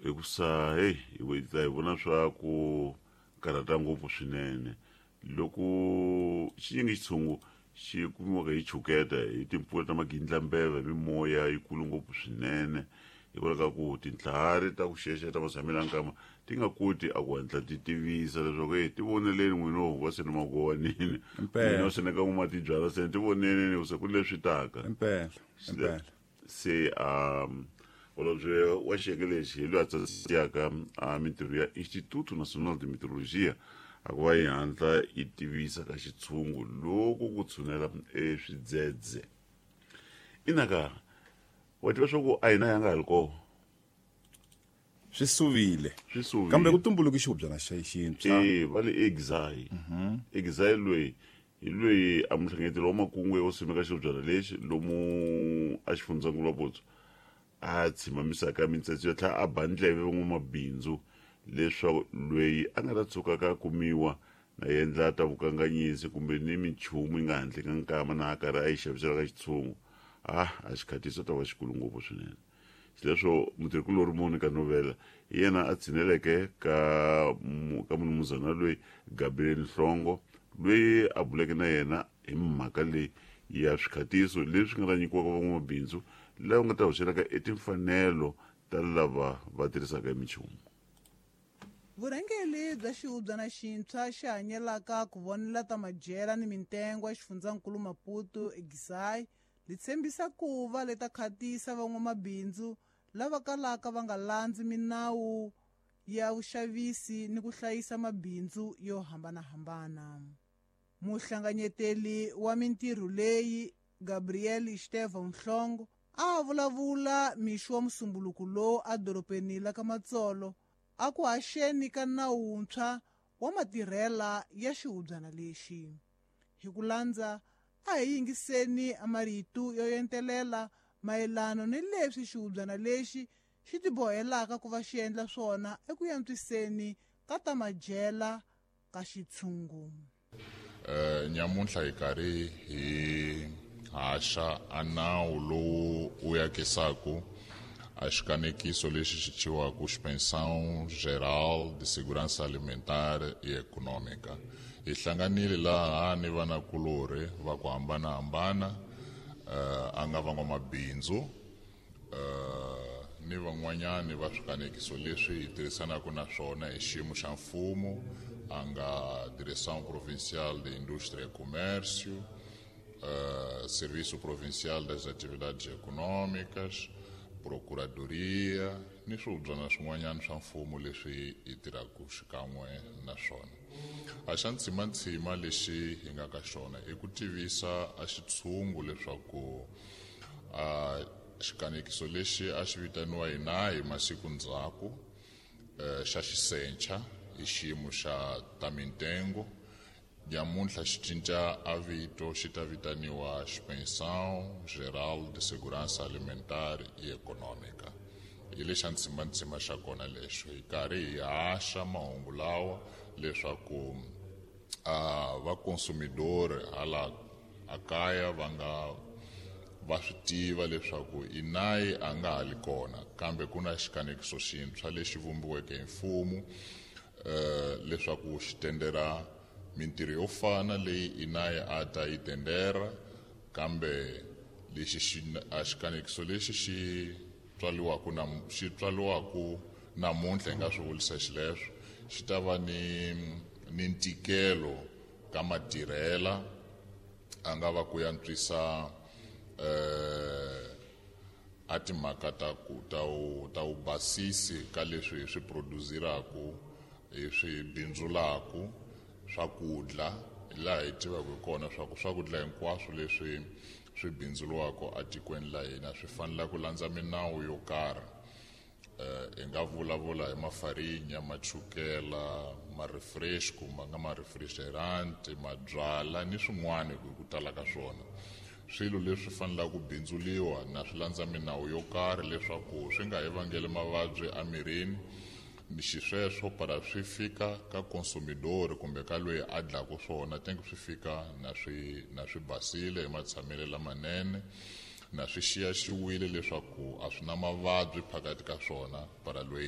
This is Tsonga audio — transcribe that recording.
Hikusa heyi hi ta hi vona swa ku karhata ngopfu swinene loko xinyingi xitshungu xi kumiwaka hi chuketa hi timpfula ta magindlambeva hi mimoya yikulu ngopfu swinene, hikwalaho ka ku tintlhari ta ku xexa ta matshamelo ya nkama ti nga koti a ku hatla ti tivisa leswaku e ti voneleni n'wino va sene magowanini, n'wino sene ka n'wima ti byala sene ti voneleni se ku leswi taka. Impela, impela. Se holobye wa xiyenge lexi hi loyi a tsasiyaka a mintirho ya Instituto Nacional de Meteorologia a ku va yi hatla yi tivisa ka xitshungu loko ku tshunela eswidzedze. Inaka wa tiva swa ku a hina ya nga ha ri koho. Swi suvile. Swi suvile. Kambe ku tumbuluke xihubyana xa xintshwa. E va le Exai. Exai loyi hi loyi a muhlanganyeteri wa makungu yo simeka xihubyana lexi lomu a xifundzankulu wa Potso a tshimamisaka mitsetse yo tlhela a ba ndleve van'wamabindzu leswaku loyi a nga ta tshuka ka kumiwa na endla ta vukanganyisi kumbe ni minchumu yi nga handle ka nkama na a karhi a yi xavisela ka xitshungu, a a xikhatiso ta va xikulu ngopfu swinene. Xileswo mutirhikulori Monica Novela hi yena a tshineleke ka ka munumuzana loyi Gabriel Nhlongo, loyi a buleke na yena hi mhaka leyi ya swikhatiso leswi nga ta nyikiwaka van'wamabindzu lava nga ta hoxelaka etimfanelo ta lava va tirhisaka emichumu. Vurhangeri bya xihubyana xintshwa xi hanyelaka ku vonela ta madyela ni mintengo ya xifundzankulu Maputo Exai li tshembisa ku va leta khatisa van'wamabindzu lava kalaka va nga landzi minawu ya vuxavisi ni ku hlayisa mabindzu yo hambanahambana. Muhlanganyeteli wa mintirho leyi Gabriel Estevão Nhlongo a vulavula mixo wa musumbuluku lowu edorobeni la ka Matsolo a ku haxeni ka nawu wuntshwa wa matirhela ya xihubyana lexi. Hi ku landza a hi yingiseni marito yo entelela mayelana ni leswi xihubyana lexi xi tibohelaka ku va xi endla swona eku antswiseni ka ta madyela ka xitshungu. Nyamuntlha hi karhi hi haxa a nawu lowu wu yakisaku a xikanekiso lexi xi thyiwaku Inspeção Geral de Segurança Alimentar e Econômica. Hi hlanganile laha ni vanakulorhi va ku hambanahambana, a nga van'wamabindzu, ni van'wanyani va swikanekiso leswi hi tirhisanaka na swona hi xiyimo xa mfumo, a nga Direção Provincial de Indústria e Comércio, Serviço Provincial das Atividades Econômicas, Procuradoria ni swihubyana swin'wanyana swa mfumo leswi hi tirhaka xikan'we na swona. A xa ntsimantsima lexi hi nga ka xona i ku tivisa a xitshungu leswaku a xikanekiso lexi a xi vitaniwa hina hi masiku ndzhaku, xa xisencha hi xiyimo xa ta mintengo, nyamuntlha xi cinca a vito xi ta vitaniwa Inspeção Geral de Segurança Alimentar e Econômica. Hi lexa ntsimantsima xa kona lexo hi karhi hi haxa mahungu lawa leswaku a va consumidor hala a kaya va nga va swi tiva leswaku inayi a nga ha li kona, kambe ku na xikanekiso xintshwa lexi vumbiweke hi mfumo, leswaku xi tendera mintirho yo fana leyi inayi a ta yi tendera, kambe lexi xi a xikanekiso lexi xi tswaliwaka na xi tswaliwaka namuntlha hi nga swi vulisa xileswo xi ta va ni ntikelo ka matirhela a nga va ku yantswisa, a timhaka ta ku ta u ta u basisi ka leswi hi swi produziraku hi swi bindzulaku swakudya, laha hi tivaka hi kona swa ku swakudya hinkwaswo leswi swi bindzuriwaka etikweni la hina swi fanele ku landza minawu yo karhi. Hi nga vulavula hi mafarinya, machukela, ma-refresh kumbe nga ma-refrigerant, mabyala ni swin'wana hi ku tala ka swona. Swilo leswi fanelaka ku bindzuliwa na swi landza minawu yo karhi leswaku swi nga hi vangeli mavabyi emirini, ni xisweswo para swi fika ka consumidor kumbe ka loyi a dlaku swona tenke swi fika na swi basile hi matshamelo lamanene, na swi xiyaxiwile leswaku a swi na mavabyi phakathi ka swona para loyi.